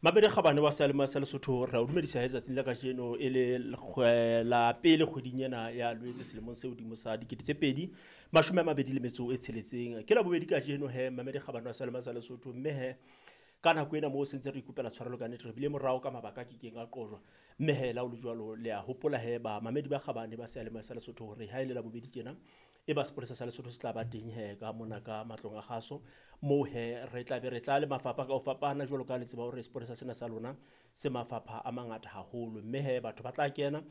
Mabedi kgabane wa seyalemoya sa Lesotho, re a o dumedisa he tsatsing la kajeno e le la pele kgweding ena ya Lwetse selemong se hodimo sa 2026. Ke Labobedi kajeno he Mamedi kgabane wa seyalemoya sa Lesotho, mme he ka nako ena moo sentse re ikopela tshwarelo ka nnete, re bile morao ka mabaka a kekeng a qojwa. Mme he la ho le jwalo, le a hopola he ba mamedi ba kgabane ba seyalemoya sa Lesotho hore ha e le Labobedi tjena e ba sepolesa sa Lesotho se tla ba teng he ka mona ka matlong a kgaso, moo he re tla be re tla le mafapha ka ho fapana jwalo ka le tseba hore sepolesa sena sa lona se mafapha a mangata haholo. Mme he batho ba tla kena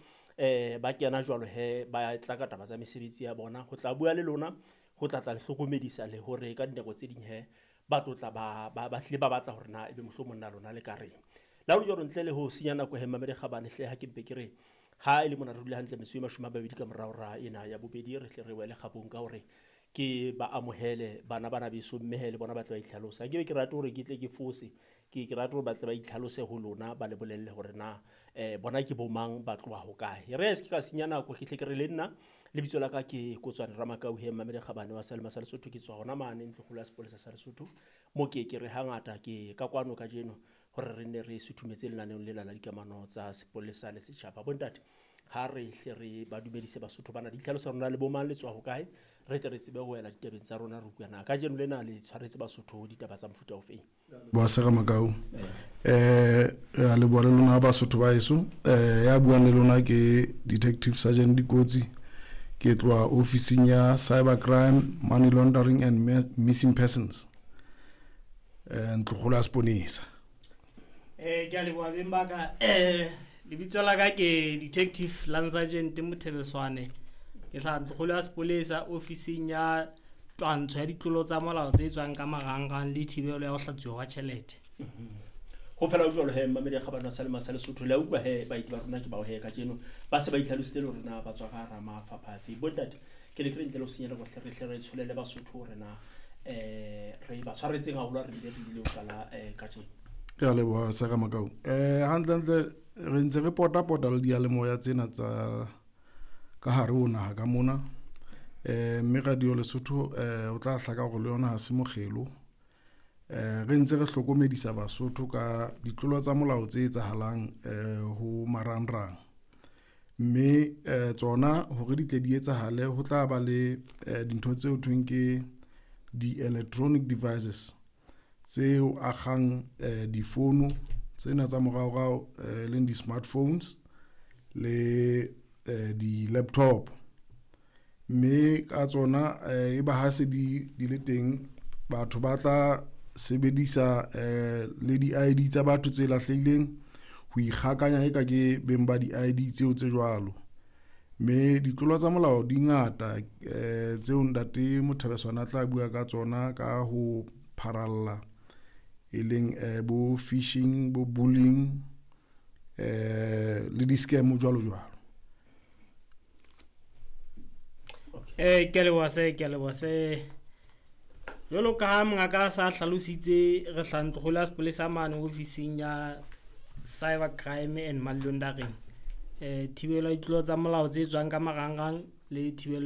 ba kena jwalo he ba tla ka taba tsa mesebetsi ya bona ho tla bua le lona, ho tla tla le hlokomedisa le hore ka dinako tse ding he ba tlo tla ba hlile ba batla hore na ebe mohlomong na lona le ka reng. Le ha ho le jwalo, ntle le ho senya nako he Mamedi Kgabane hle, ha ke mpe ke re ha e le mona re dule hantle metso e 20 ka morao ra ena ya bobedi, re hle re wele kgabong ka hore ke ba amohele bana bana beso, mme he le bona ba tle ba itlhalosa. Nke be ke rate hore ke tle ke fose, ke rate hore ba tle ba itlhalose ho lona, ba le bolelle hore na bona ke bo mang, ba tloha hokae. Re se ke ka senya nako, ke hle ke re le nna lebitso la ka ke Kotswane Ramakau he Mamedi Kgabane wa seyalemoya sa Lesotho, ke tswa hona mane ntlokgolo ya sepolesa sa Lesotho, mo ke ke re hangata ke ka kwano kajeno hore re nne re suthumetse lenaneong lela la dikamano tsa sepolesa le setjhaba. Bontate, ha re hle re ba dumedise Basotho bana, di itlhalosa rona le bo mang, le tswa hokae, re tle re tsebe ho wela ditabeng tsa rona re utlwa na kajeno lena le tshwaretse Basotho ditaba tsa mofuta ofeng. Boa sera Makau. Re a leboha le lona Basotho ba heso. Ya buang le lona ke Detective Sergeant Dikotsi. Ke tloha ofising ya Cyber Crime, Money Laundering and Missing Persons. Ntlokgolo ya seponesa. Ke a leboha beng ba ka. Lebitso la ka ke Detective Lance Sergeant Mothebeswane. Ke hlaha ntlokgolo ya sepolesa ofising ya twantsho ya ditlolo tsa molao tse tswang ka marangrang le thibelo ya ho hlatsuwa hwa tjhelete. Ho fela ho jwalo he Mamedi Kgabane wa seyalemoya sa Lesotho, le a utlwa he baeti ba rona ke bao he kajeno ba se ba itlhalositse le hore na ba tswa ka hara mafapha afe. Bontate, ke le ke re ntle le ho senya nako hle re hle re tsholele Basotho hore na re ba tshwaretseng haholo ha re bile re ile ho qala kajeno. Ke a leboha Sera Makau. Hantlentle re ntse re pota-pota le diyalemoya tsena tsa ka hare ho naha ka mona. Mme Radio Lesotho o tla hlaka hore le yona ha se mokgelo. Re ntse re hlokomedisa Basotho ka ditlolo tsa molao tse etsahalang ho marangrang. Mme tsona hore di tle di etsahale ho tla ba le dintho tseo thweng ke di-electronic devices tseo akgang difono tsena tsa moraorao, leng di-smartphones le di-laptop. Mme ka tsona e ba ha se di le teng, batho ba tla sebedisa le di-ID tsa batho tse lahlehileng ho ikgakanya eka ke beng ba di-ID tseo tse jwalo. Mme ditlolo tsa molao di ngata tseo ntate Mothebeswane a tla bua ka tsona ka ho pharalla, e leng bo phishing, bo bullying, le di-scam jwalo jwalo. Ke a leboha se, ke a leboha se. Jwalo ka ha mongaka a sa hlalositse, re hlaha ntlokgolo ya sepolesa mane ofising ya Cyber Crime and Money Laundering. Thibelo ya ditlolo tsa molao tse tswang ka marangrang le thibelo